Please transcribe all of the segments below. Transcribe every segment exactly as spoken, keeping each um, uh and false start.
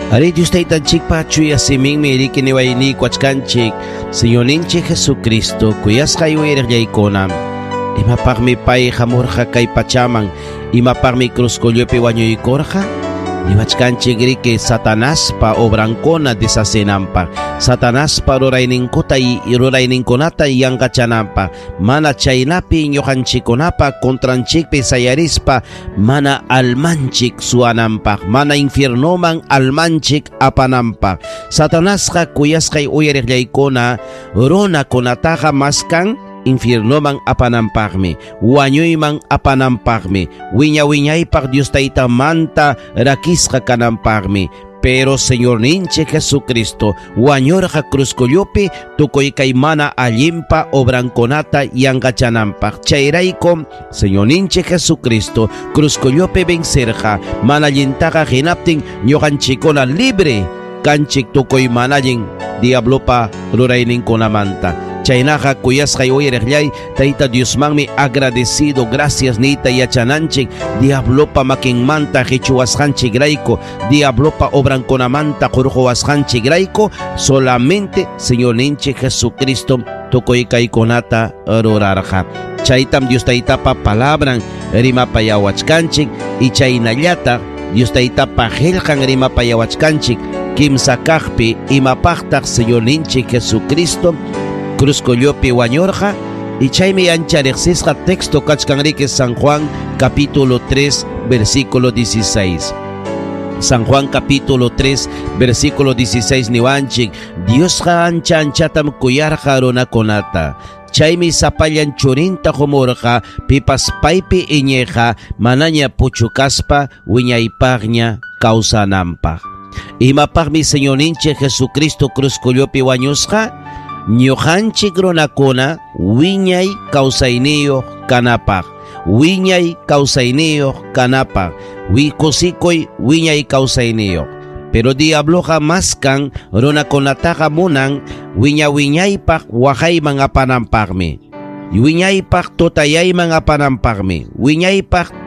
Ari Dios taytanchikpa chuya siminmi riki niwayniykuachkanchik Señorninchik Jesucristo kuyasqay uyariqllaykuna. Imapaqmi pay hamurqa kay pachaman, imapaqmi cruzcollopi wañuykurqa? Niwachkanchik riki Satanaspa obrankuna deshacenanpaq, Satanaspa rurayninkuta rurayninkunata yanqachananpaq, mana chaynapi ñuqanchikkunapa contranchikpi sayarispa mana almanchik suwananpaq, mana infiernoman almanchik apananpaq. Satanasqa kuyasqay uyariqllaykuna runakunataqa maskan infiernoman apananpaqmi, wañuyman apananpaqmi, wiña wiñaypaq Dios taytamanta rakisqa kananpaqmi. Pero Señor ninchik Jesucristo wañurqa cruzcollopi tukuy kay mana allinpa obrankunata yanqachananpaq. Chayraykum Señor ninchik Jesucristo cruzcollopi vencerqa mana allintaqa hinaptin ñuqanchikkuna libre kanchik tukuy mana allin diablopa rurayninkunamanta. Chaynaqa kuyasqay uyariqllay Tayta Diosmanmi agradecido gracias niyta yachananchik diablopa makinmanta qichuwasqanchikrayku, diablopa obrankunamanta qurquwasqanchikrayku. Solamente Señorninchik Jesucristo tukuy kaykunata rurarqa. Chaytam Dios Taytapa palabran rimapayawachkanchik y chaynallata Dios Taytapa qillqan rimapayawachkanchik kimsa kaqpi imapaqtaq Señorninchik Jesucristo cruzcollopi wañurqa. Y chaymi ancha riqsisqa texto kachkan riki San Juan capítulo tres versículo dieciséis. San Juan capítulo tres versículo dieciséis niwanchik Diosqa ancha anchatam kuyarqa runakunata. Chaymi sapallan churinta qumurqa pipas paypi iñiqa manaña puchukaspa wiñaypaqña kawsananpaq. Imapaqmi Señorninchik Jesucristo cruzcollopi wañusqa? Ñuqanchik runakuna wiñay kawsayniyuq kanapaq, wiñay kawsayniyuq kanapaq, kusikuy wiñay kawsayniyuq. Pero diabloqa maskan runakunataqa munan wiña wiñaypaq waqayman apananpaqmi, wiñaypaq tutayayman apananpaqmi, wiñaypaq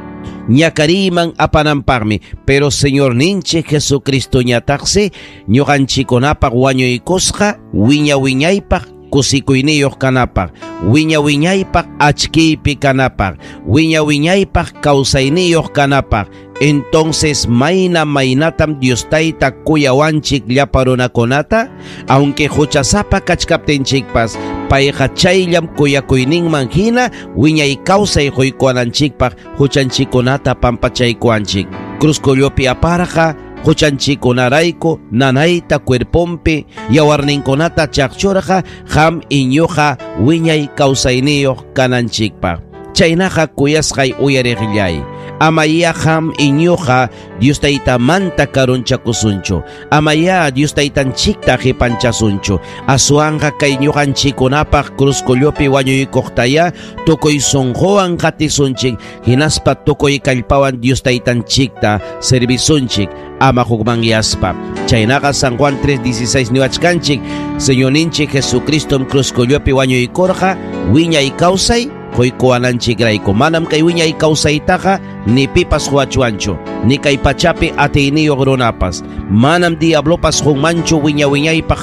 ñakariyman apananpaqmi. Pero Señor ninchik Jesucristo ñataqsi ñuqanchikunapaq wañuykusqa wiña wiñaypaq kusikuyniyuq kanapaq, wiña wiñaypaq achkiypi kanapaq, wiña wiñaypaq kawsayniyuq kanapaq. Entonces mayna maynatam Dios Tayta kuyawanchik llapa runakunata, aunque huchasapa kachkaptinchikpas payqa chayllam kuyakuyninman hina wiñay kawsay quykuwananchikpaq huchanchikkunata pampachaykuwanchik. Cruzcollopi aparqa huchanchikunarayku nanayta cuerpompi yawarninkunata chaqchurqa qam iñuqa wiñay kawsayniyuq kananchikpaq. Chaynaqa kuyasqay uyariqllay, amaya qam iñuqa Dios Taytamanta karunchakusunchu, amaya Dios Taytanchikta qipanchasunchu. Aswanqa kay ñuqanchikkunapaq cruzcollopi wañuykuqtaya tukuy sunquwan qatisunchik, hinaspa tukuy kallpawan Dios Taytanchikta servisunchik ama hukmanyaspa. Chaynaqa San Juan tres dieciséis niwachkanchik Señorninchik Jesucristom cruzcollopi wañuykurqa wiñay kawsay quykuwananchikrayku. Manam kay wiñay kawsaytaqa ni pipas huachuanchu, ni kay pachapi atiyniyuq runapas. Manam diablopas qunmanchu wiña wiñaypaq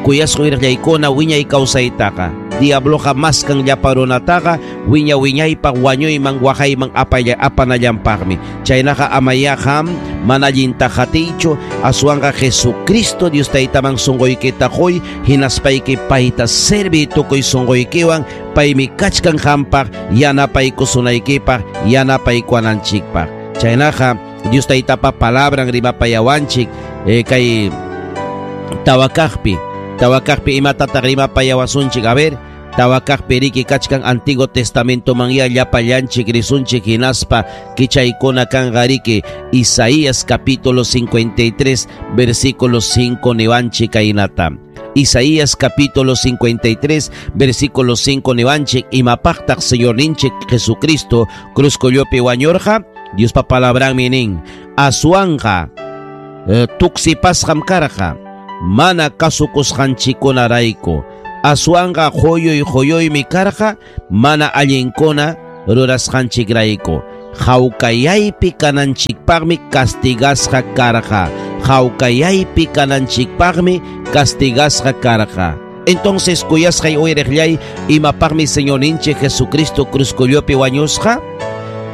kuyasqa wirqaykuna wiñay kawsaytaqa. Diabloqa maskan llapa runataqa wiña wiñaypaq wañuyman waqayman apaya apanallanpaqmi. Chaynaqa amaya qam mana allinta qatiychu, aswanqa Jesucristo Dios Taytaman sunquykita quy, hinaspayki payta servi tukuy sunquykiwan, paymi kachkan qampaq yanapaykusunaykipaq yanapaykuwananchikpaq. Chaynaqa Dios Taytapa palabran rimapayawanchik eh, kay tawakaqpi tawakaqpi imatataq rimapayawasunchik. A ver, tawakaqpi riki kachkan Antiguo Testamento manya llapallanchik risunchik hinaspa kichaykuna kanqa riki Isaías capítulo cincuenta y tres versículo cinco niwanchik kaynata. Isaías capítulo cincuenta y tres versículo cinco niwanchik imapaqtaq Señorninchik Jesucristo cruzcollopi wañurqa. Diospa palabranmi nin aswanqa eh, tuksipasqam karqa mana kasukusqanchikkunarayku, aswanqa quyuy quyuymi karqa mana allinkuna rurasqanchikrayku, hawkayaypi kananchikpaqmi castigasqa karqa, Hawkayaypi kananchikpaqmi castigasqa karqa. Entonces kuyasqay uyariqllay, imapaqmi Señorninchik Jesucristo cruzkullupi wañusqa?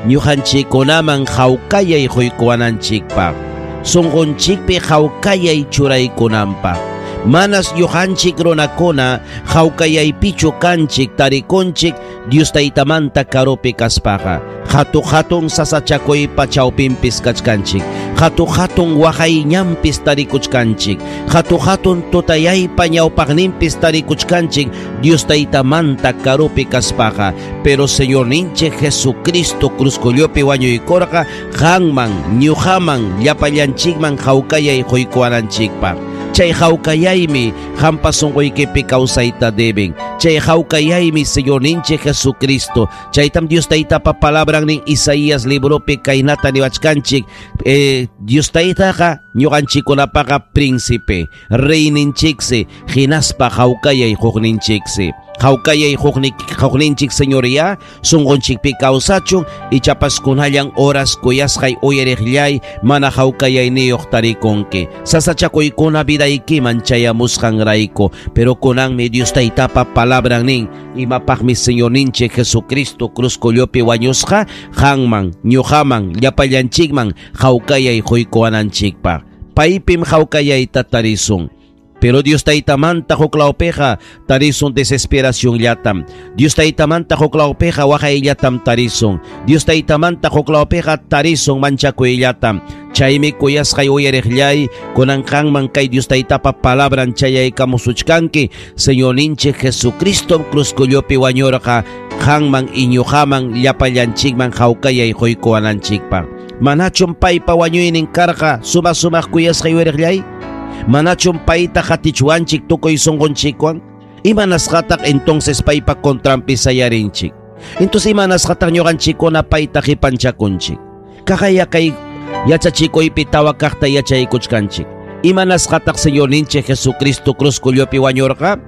Ñuqanchikkunaman hawkayay quykuwananchikpaq, sunqunchikpi hawkayay churaykunanpaq. Manas ñuqanchik runakuna hawkayaypichu kanchik tarikunchik Dios Taytamanta karupi kaspaqa. Hatu hatun sasachakuypa chawpinpis kachkanchik, hatu hatun waqayñanpis tarikuchkanchik, hatu hatun tutayaypa ñawpaqninpis tarikuchkanchik Dios Taytamanta karupi kaspaqa. Pero Señorninchik Jesucristo cruzkullupi wañuykurqa qanman, ñuqaman, llapallanchikman hawkayay quykuwananchikpaq. Chay hawkayaymi qampa sunquykipi kawsayta deben. Chay hawkayaymi Señorninchik Jesucristo. Chaytam Dios Taytapa palabran nin Isaías libropi kaynata niwachkanchik. Eh, Dios Taytaqa ñuqanchikkunapaqa príncipe, reyninchiksi, hinaspa hawkayay hukninchiksi. Hawkayay hukninchik Señoría, sunqunchikpi kawsachun, ichapas kunallan horas kuyasqay uyariqllay mana hawkayayniyuq tarikunki. Sasachakuykuna vidaykiman chayamusqanrayku, pero kunanmi Dios Taytapa palabran nin, imapaqmi Señorninchik Jesucristo cruzkullupi wañusqa, qanman, ñuqaman, llapallanchikman hawkayay quykuwananchikpaq. Paypim hawkayayta tarisun. Pero Dios Taytamanta huklawpiqa tarisun desesperación llatam. Dios Taytamanta huklawpiqa waqayllatam tarisun. Dios Taytamanta huklawpiqa tarisun manchakuyllatam. Chaymi kuyasqay uyariqllay, kunan qanman kay Dios Taytapa palabran chayaykamusuchkanki. Señorninchik Jesucristo cruzkullupi wañurqa qanman iñuqaman llapallanchikman hawkayay quykuwananchikpaq. Manachum paypa wañuynin karqa suma sumaq kuyasqay uyariqllay? Manachum payta hatichwanchik tukuy sunqunchikwan? Imanasqataq entonces paypa contranpi sayarinchik? Entonces imanasqataq ñuqanchikkuna payta qipanchakunchik? Kaqaya kay yachachikuypi tawa kaqta yachaykuchkanchik. Imanasqataq Señorninchik Jesucristo cruzkullupi wañurqa?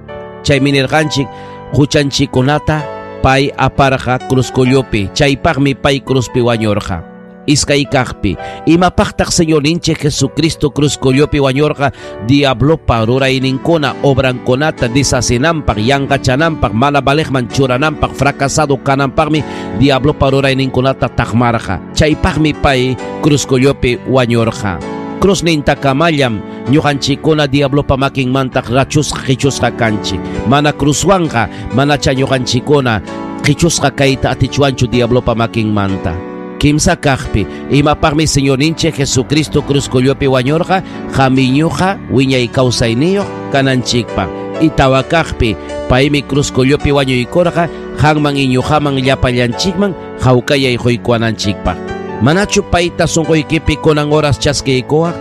Chaymi nirqanchik huchanchikkunata pay aparqa cruzkullupi, chaypaqmi pay cruzpi wañurqa. Iskay kaqpi, imapaqtaq Señorninchik Jesucristo cruzkullupi wañurqa? Diablopa rurayninkuna obrankunata deshacinanpaq, yanqachananpaq, mana valeqman churananpaq, fracasado kananpaqmi diablopa rurayninkunata taqmarqa. Chaypaqmi pay cruzkullupi wañurqa. Cruzninta kamallam ñuqanchikkuna diablopa makinmanta rachusqa qichusqa kanchik. Mana cruzwanqa manacha ñuqanchikkuna qichusqa kayta atichwanchu diablopa makinmanta. Kimsa kaqpi, imapaqmi Señorninchik Jesucristo cruzkullupi wañurqa? Qamiñuqa wiñay kawsayniyuq kananchikpaq. Itawa kaqpi, paymi cruzkullupi wañuykurqa qanman iñuqaman llapallanchikman hawkayay quykuwananchikpaq. Manachu payta sunquykipi kunan horas chaskiykuwaq?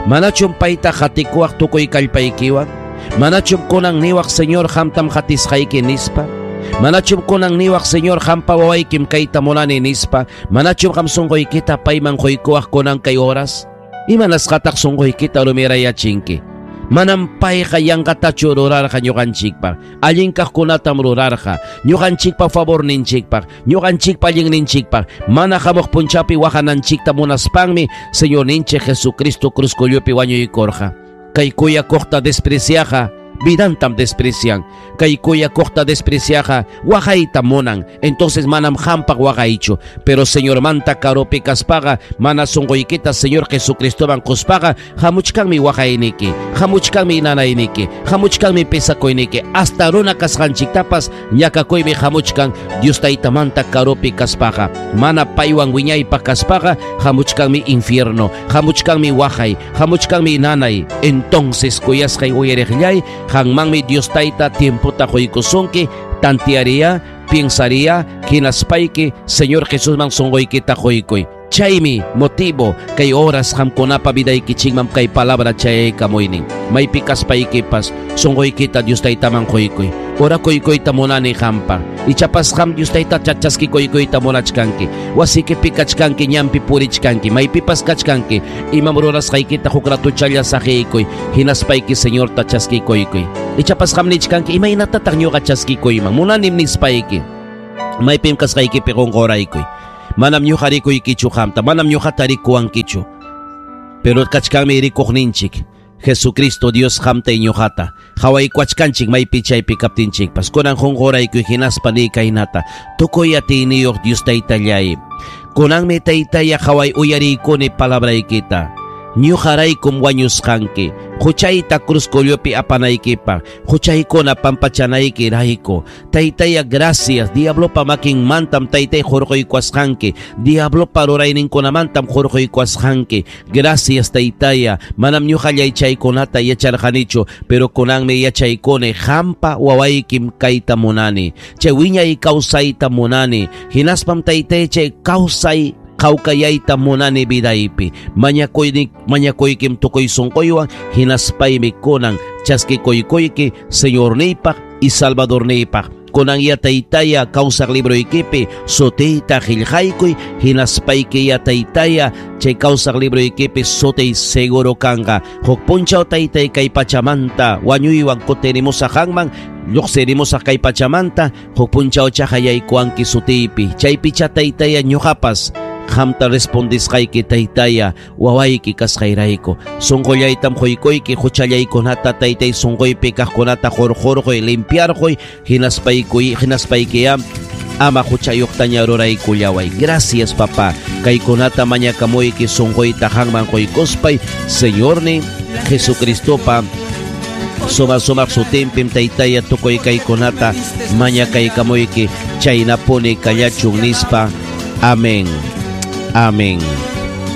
Manachum payta qatikuwaq tukuy kallpaykiwan? Manachum kunan niwaq Señor qamtam qatisqayki nispa? Manachum kunan niwaq Señor qampa wawaykim kayta munani nispa? Manachum qam sunquykita payman quykuwaq kunan kay horas? Imanasqataq sunquykita rumirayachinki? Manam payqa yanqatachu rurarqa ñuqanchikpaq. Allin kaqkunatam rurarqa ñuqanchikpa favorninchikpaq, ñuqanchikpa allinninchikpaq. Mana hamuq punchapi waqananchikta munaspanmi Señorninchik Jesucristo cruzkullupi wañuykurqa. Kay kuyakuqta despreciaqa vidantam desprecian. Kay kuyakuqta despreciaqa waqayta munan. Entonces manam qampaq waqaychu. Pero Señormanta karupi kaspaqa mana sunquykita Señor Jesucristoman quspaqa hamuchkanmi waqayniki, hamuchkanmi nanayniki, hamuchkanmi pesakuyniki. Hasta runa kasqanchiktapas ñakakuymi hamuchkan Dios Taytamanta karupi kaspaqa. Mana paywan wiñaypaq kaspaqa hamuchkanmi infierno, hamuchkanmi waqay, hamuchkanmi nanay. Entonces kuyasqay uyariqllay, qanmanmi Dios Tayta tiempota quykusunki, tantearía, pensaría, hinaspayki Señor Jesusman sunquykita quykuy. Chaymi motivo kay oras qamkunapa vidaykichikman kay palabra chayaykamuynin. Maypi kaspaykipas sunquykita Dios Taytaman quykuy. Ora kuykuyta munani qampa. Ichapas qam Dios Tayta chachaskikuykuyta munachkanki. Wasikipi kachkanki, ñanpi purichkanki, maypipas kachkanki. Imam rurasqaykita huk ratuchalla saqiykuy, hinaspayki Señorta chaskikuykuy. Ichapas qam nichkanki, imaynatataq ñuqa chaskikuyman? Munanim nispayki. Maypim kasqaykipi qunquraykuy. Manam ñuqa rikuykichu qamta, manam ñuqata rikuwankichu. Pero kachkanmi rikuqninchik Jesucristo Dios qamta ñuqata qhawaykuachkanchik maypi chaypi kaptinchikpas. Kunan qunqurayku hinaspa ni kaynata tukuy atiyniyuq Dios taytallay, kunanmi taytaya qhaway uyariykuni palabraykita. Ñuqaraykum wañusqanki huchayta cruzcullopi apanaykipaq, huchaykuna pampachanayki rayku. Taytaya, gracias. Diablopa makinmantam taytay hurquykuasqanki, diablopa rurayninkunamantam hurquykuasqanki. Gracias taytaya, manam ñuqallay chaykunata yacharqanichu, pero kunanmi yachaykuni qampa wawaykim kayta munani, chay wiñay kawsayta munani, hinaspam taytay chay kawsay kawkayayta munani vidaypi. Mañakuyni mañakuykim tukuy sunquywan hinaspaymi kunan chaskikuykuyki Señorniypaq y Salvadorniypaq. Kunan ya taytaya kawsaq libroykipi sutiyta qillqaykuy, hinaspayki ya taytaya chay kawsaq libroykipi sutiy seguro kanqa. Huk punchaw taytay kay pachamanta wañuywan kutirimusaq qanman, lluqsirimusaq kay pachamanta, huk punchaw chaqayaykuwanki sutiypi. Chaypicha taytaya ñuqapas qamta respondisqayki taytaya wawayki kasqayrayku. Sunqullaytam quykuyki huchallaykunata taytay sunquypi kaqkunata qurqurquy limpiarquy, hinaspaykuy hinaspaykiya ama huchayuqtaña ruraykullaway. Gracias papá, kaykunata mañakamuyki sunquyta qanman quykuspay Señorni Jesucristopa suma sumaq sutinpim taytaya tukuy kaykunata mañakaykamuyki chaynapuni kallachun nispa. Amén. Amén.